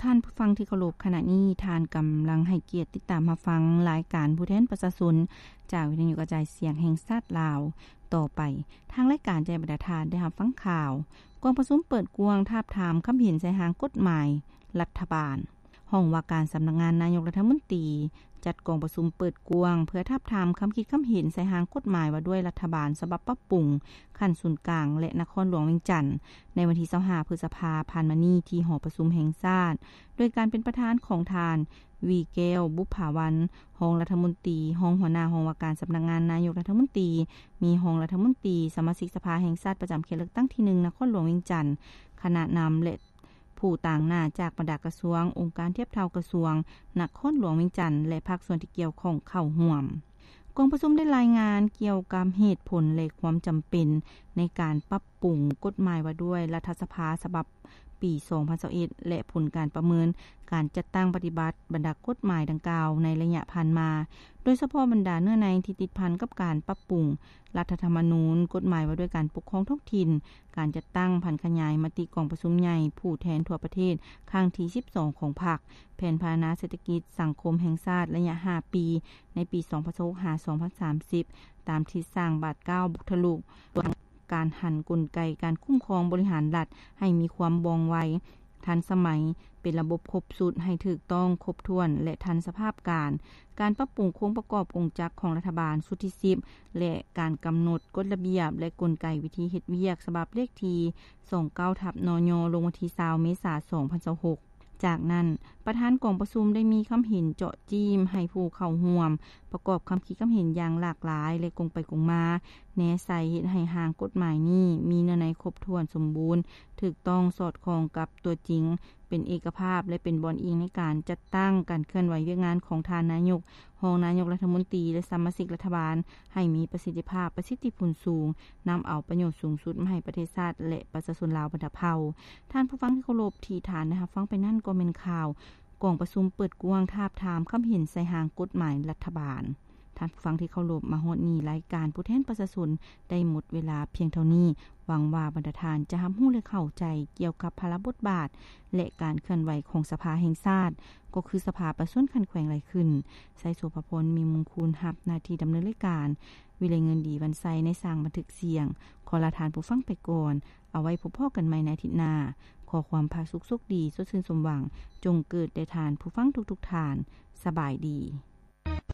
ທ່ານຜູ້ຟັງທີ່ເຄົາລົບ, ຂະນະນີ້ທ່ານກຳລັງໃຫ້ກຽດຕິດຕາມຮັບຟັງລາຍການຜູ້ແທນປະຊາຊົນ ຈາກວິທະຍຸກະຈາຍສຽງແຫ່ງຊາດລາວ. ຕໍ່ໄປ, ທາງລາຍການຈະໃຫ້ບັນດາທ່ານໄດ້ຮັບຟັງຂ່າວ ກອງປະຊຸມເປີດກວ້າງທາບທາມຄຳເຫັນໃສ່ຮ່າງກົດໝາຍລັດຖະບານ. ຫ້ອງວ່າການສຳນັກງານນາຍົກລັດຖະມົນຕີ ຈັດກອງປະຊຸມເປີດກວ້າງ ເພື່ອທາບທາມຄຳຄິດຄຳເຫັນໃສ່ຮ່າງກົດໝາຍວ່າດ້ວຍລັດຖະບານສະບັບປັບປຸງຂັ້ນສູນກາງ ແລະ ນະຄອນຫຼວງວຽງຈັນ ໃນວັນທີຊາວຫ້າ ພຶດສະພາຜ່ານມານີ້ ທີ່ຫໍປະຊຸມແຫ່ງຊາດ ໂດຍການເປັນປະທານຂອງທ່ານ ວີແກ້ວ ບຸບຜາວັນ ຮອງລັດຖະມົນຕີ, ຮອງຫົວໜ້າຫ້ອງວ່າການສຳນັກງານນາຍົກລັດຖະມົນຕີ, ມີຮອງລັດຖະມົນຕີ, ສະມາຊິກສະພາແຫ່ງຊາດປະຈຳເຂດເລືອກຕັ້ງທີໜຶ່ງ ນະຄອນຫຼວງວຽງຈັນ, ຄະນະນຳ ແລະ ຜູ້ຕາງໜ້າຈາກບັນດາກະຊວງ, ອົງການທຽບເທົ່າກະຊວງ, ນະຄອນຫຼວງວຽງຈັນ ແລະ ພາກສ່ວນທີ່ກ່ຽວຂ້ອງເຂົ້າຮ່ວມ. ກອງປະຊຸມໄດ້ລາຍງານກ່ຽວກັບເຫດຜົນ ແລະ ຄວາມຈຳເປັນໃນການປັບປຸງກົດໝາຍວ່າດ້ວຍລັດຖະສະພາສະບັບປີສອງພັນຊາວເອັດ ແລະ ຜົນການປະເມີນການຈັດຕັ້ງປະຕິບັດບັນດາກົດໝາຍດັ່ງກ່າວໃນໄລຍະຜ່ານມາ, ໂດຍສະເພາະບັນດາເນື້ອໃນທີ່ຕິດພັນກັບການປັບປຸງ ລັດຖະທຳມະນູນ, ກົດໝາຍວ່າດ້ວຍການປົກຄອງທ້ອງຖິ່ນ, ການຈັດຕັ້ງຜັນຂະຫຍາຍມະຕິກອງປະຊຸມໃຫຍ່ຜູ້ແທນທົ່ວປະເທດຄັ້ງທີສິບສອງຂອງພັກ, ແຜນພັດທະນາເສດຖະກິດສັງຄົມແຫ່ງຊາດໄລຍະຫ້າປີ ໃນປີສອງພັນຊາວຫົກ ຫາ ສອງພັນສາມສິບ ຕາມທິດສ້າງບາດກ້າວບຸກທະລຸ, ການຫັນກົນໄກການຄຸ້ມຄອງບໍລິຫານລັດໃຫ້ມີຄວາມວ່ອງໄວ, ທັນສະໄໝ, ເປັນລະບົບຄົບຊຸດໃຫ້ຖືກຕ້ອງ, ຄົບຖ້ວນ ແລະ ທັນສະພາບການ, ການປັບປຸງໂຄງປະກອບກົງຈັກຂອງລັດຖະບານຊຸດທີສິບ ແລະ ການກຳນົດກົດລະບຽບ ແລະ ກົນໄກວິທີເຮັດວຽກ ສະບັບເລກທີສອງເກົ້າທັບ ນຍ ລົງວັນທີຊາວ ເມສາ ສອງພັນຊາວຫົກ. ຈາກນັ້ນ, ປະທານກອງປະຊຸມໄດ້ມີຄຳເຫັນເຈາະຈີ້ມໃຫ້ຜູ້ເຂົ້າຮ່ວມ ປະກອບຄຳຄິດຄຳເຫັນຢ່າງຫຼາກຫຼາຍ ແລະ ກົງໄປກົງມາ, ແນໃສ່ເຮັດໃຫ້ຮ່າງກົດໝາຍນີ້ມີເນື້ອໃນຄົບຖ້ວນສົມບູນ, ຖືກຕ້ອງ, ສອດຄ່ອງກັບຕົວຈິງ, ເປັນເອກະພາບ ແລະ ເປັນບ່ອນອີງໃນການຈັດຕັ້ງການເຄື່ອນໄຫວວຽກງານຂອງທ່ານນາຍົກ, ຮອງນາຍົກລັດຖະມົນຕີ ແລະ ສະມາຊິກລັດຖະບານ ໃຫ້ມີປະສິດທິພາບ, ປະສິດທິຜົນສູງ, ນຳເອົາປະໂຫຍດສູງສຸດມາໃຫ້ປະເທດຊາດ ແລະ ປະຊາຊົນລາວບັນດາເຜົ່າ. ທ່ານຜູ້ຟັງທີ່ເຄົາລົບ, ທີ່ທ່ານໄດ້ຮັບຟັງໄປນັ້ນກໍແມ່ນຂ່າວ ກອງປະຊຸມເປີດກວ້າງທາບທາມຄຳເຫັນໃສ່ຮ່າງກົດໝາຍລັດຖະບານ. ທ່ານຜູ້ຟັງທີ່ເຄົາລົບ, ມາຮອດນີ້ລາຍການຜູ້ແທນປະຊາຊົນໄດ້ໝົດເວລາພຽງເທົ່ານີ້. ຫວັງວ່າບັນດາທ່ານຈະຮັບຮູ້ ແລະ ເຂົ້າໃຈກ່ຽວກັບພາລະບົດບາດ ແລະ ການເຄື່ອນໄຫວຂອງສະພາແຫ່ງຊາດ, ກໍຄືສະພາປະຊາຊົນຂັ້ນແຂວງຫຼາຍຂຶ້ນ. ໄຊໂສພາພອນ ມີມຸງຄູນ ຮັບໜ້າທີ່ດຳເນີນລາຍການ, ວິໄລເງິນດີ ວັນໄຊ ໃນສ້າງບັນທຶກສຽງ. ຂໍລາທ່ານຜູ້ຟັງໄປກ່ອນ, ເອົາໄວ້ພົບພໍ້ກັນໃໝ່ໃນອາທິດໜ້າ. ຂໍຄວາມຜາສຸກໂຊກດີ, ສົດຊື່ນສົມຫວັງ ຈົ່ງເກີດແດ່ທ່ານຜູ້ຟັງທຸກໆທ່ານ. ສະບາຍດີ.